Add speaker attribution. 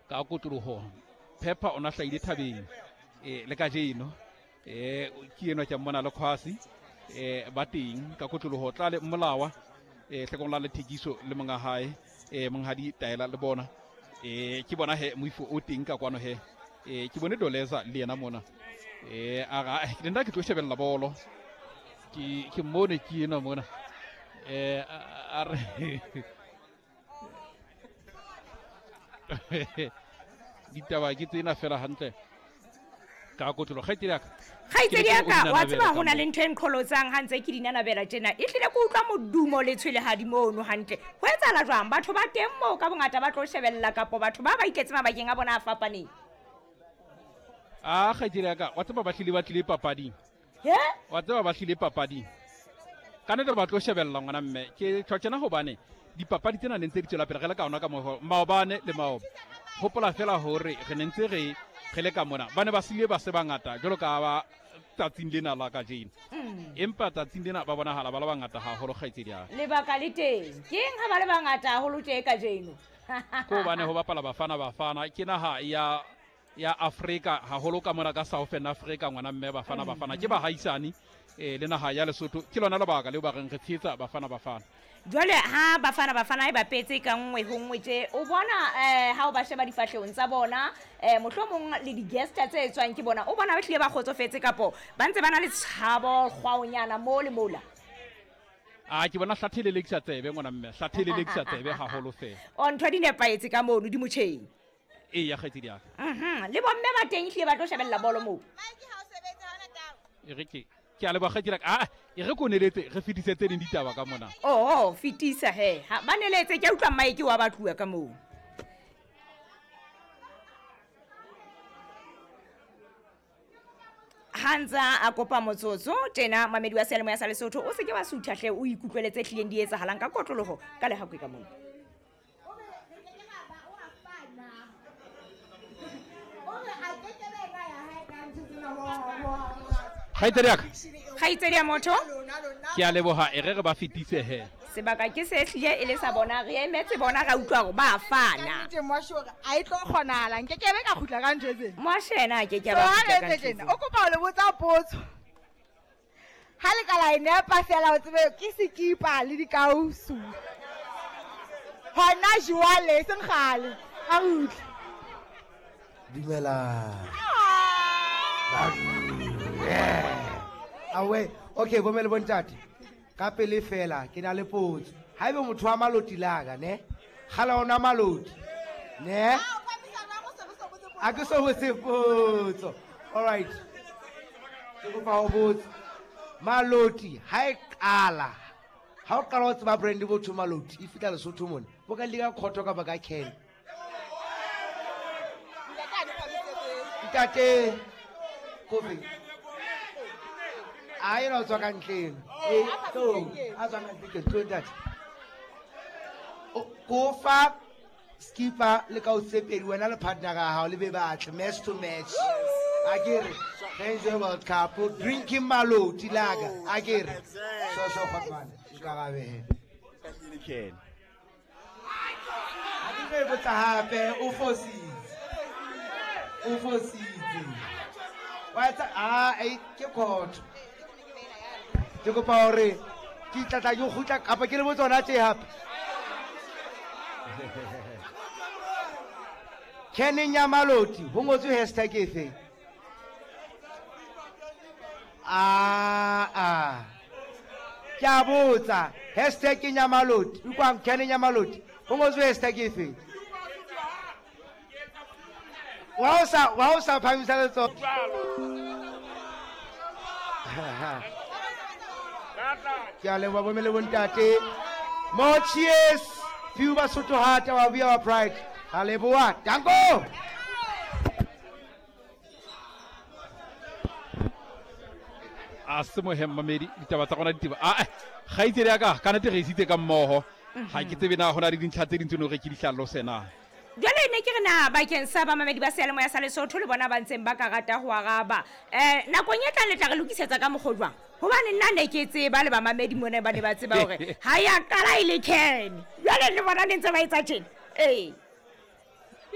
Speaker 1: Ka kotloloho Pepper o na hlahile thabeng le kajeno. Ke enwa ke a mmona le Khwasi ba teng ka kotloloho tla le Mmolawa hlekong la lethekiso le monga hae monghadi Taela le bona. Ke bona he moifo o teng ka kwano he. Ke bone Doleza le yena mona. Ara ke nna ke tlo shebella bolo. Ke mmone ke enwa mona. A re ditaba ke tsena fela hantle ka kotlolo kgaitsedi yaka.
Speaker 2: Kgaitsedi yaka, wa tseba ho na le ntho e nqholotsang ha ntse ke di nanabela tjena. E hlile ke utlwa modumo le tshwelehadi mono hantle. Ho etsahala jwang? Batho ba teng moo ka bongata ba tlo shebella kapo batho ba ba iketse mabakeng a bona a fapaneng?
Speaker 1: A kgaitsedi yaka, wa tseba ba hlile ba tlile papading. Wa tseba ba hlile papading. Ka nnete ba tlo shebella ngwana mme. Ke tjho tjena hobane dipapadi tsena ne ntse di tswela pele re le ka ona ka moho maobane le maoba. Hopola fela hore re ne ntse re re le ka mona. Ba ne ba sile ba se bangata jwalo ka ba tsatsing lena la kajeno. Empa tsatsing lena ba bonahala ba le bangata haholo kgaitsedi ya.
Speaker 2: Lebaka le teng. Ke eng ha ba le bangata haholo tje kajeno?
Speaker 1: Ko hobane ho bapala Bafana Bafana ke naha ya ya Afrika haholo ka mona ka Southern Africa ngwana mme Bafana Bafana ke bahaisane le naha ya Lesotho. Ke lona lebaka leo ba reng re tshehetsa Bafana Bafana.
Speaker 2: Jwale ha Bafana Bafana e bapetse ka nngwe ho nngwe tje, o bona ha o ba sheba difahlehong tsa bona, mohlomong le di-guesta tse etswang ke bona, o bona ba hlile ba kgotsofetse kapo ba ntse ba na le tshabo kgwaonyana mo le mola?
Speaker 1: A ke bona hlathe le lekisa tsebe ngwana mme, hlathe le lekisa tsebe haholo fela.
Speaker 2: O ntho di nepahetse ka mono di motjheng.
Speaker 1: Ee, ya kgaitsedi ya ka.
Speaker 2: Le bomme ba teng ehlile ba tlo shebella bolo moo.
Speaker 1: E re ke ke a leboha kgaitsedi ya ka. Ah, e re ko neletse re fetise tse ding ditaba ka mona.
Speaker 2: Oh, fetisa he. Ha ba neletse ke utlwa mmae ke wa ba tluwa ka moo. Ha ntse a kopa motsotso tjena mamedi wa seyalemoya sa Lesotho o se ke wa sutha hle o ikutlwele tse hlileng di etsahalang ka kotloloho ka lehakwe ka mona.
Speaker 1: Kgaitsedi ya ka.
Speaker 2: Kgaitsedi ya motho.
Speaker 1: Ke a leboha e re re ba fetise he.
Speaker 2: Sebaka ke se hlile e le sa bona re emetse bona ra utlwa hore ba fana.
Speaker 3: Ka nnete Moashe hore a e tlo kgonahala nke ke be ka kgutla ka ntho tsena.
Speaker 2: Moashe yena a ke ke ba
Speaker 3: So, ha
Speaker 2: kgutla ka
Speaker 3: re
Speaker 2: ntho
Speaker 3: etse tjena,
Speaker 2: tsena.
Speaker 3: o kopa ho le botsa potso. Ha le ka la e nepa fela o tsebe ke sekipa le dikausu. Hona jwale e seng kgale. A re utlwe.
Speaker 4: Dumela. Awe, okay, bo mme le bontate. Ka pele fela ke na le potso. Haebe motho wa maloti laka, ne? Kgale ona maloti. Ne? A ke so botse potso. All right. Ke kopa ho botsa. Maloti ha e qala. Ha o qala ho tseba brand botho maloti e fihla Lesotho mona. Bo ka lika khotho kapa ka can. Ntate Kofi. A ena o tswa ka ntleng. E tlo a tswa ka ntle ke tlo ntate. O kofa skipper le ka o tsepedi wena le partner ya hao le be batle match to match. A ke re Enjoy World Cup drinking maloti laka a ke re so so kgotmane nkarabe.
Speaker 5: Ken.
Speaker 4: Ha ke tlo e botsa hape o fositse. O fositse. Wa etsa a e ke khotho. Ke kopa hore ke tla tla ke kgutla kapa ke le botsa hona tje hape. Keneng ya maloti ho ngotswe hashtag efe? A a. Ke a botsa hashtag ya maloti utlwang keneng ya maloti ho ngotswe hashtag efe? Wa o sa phamisa letsoho. Ke a leboha bomme le bontate. More cheers. Few Basotho heart, our we our pride. Ra leboha. Danko.
Speaker 1: A se mohe mmamedi ditaba tsa rona ditaba. A kgaitsedi ya ka ka nnete re isitse ka mmoho. Ha ke tsebe na hona le dintlha tse ding tse no re ke di hlalose na.
Speaker 2: Jwale ne ke re na bakeng sa bamamedi ba seyalemoya sa Lesotho le bona ba ntseng ba ka rata ho araba. Nakong e tlang le tla re lokisetsa ka mokgwa jwang? Hobane nna ne ke tseba le bamamedi mona ba ne ba tseba hore ha ya qala e le can. Jwale le bona ne ntse ba etsa tjena. Ee.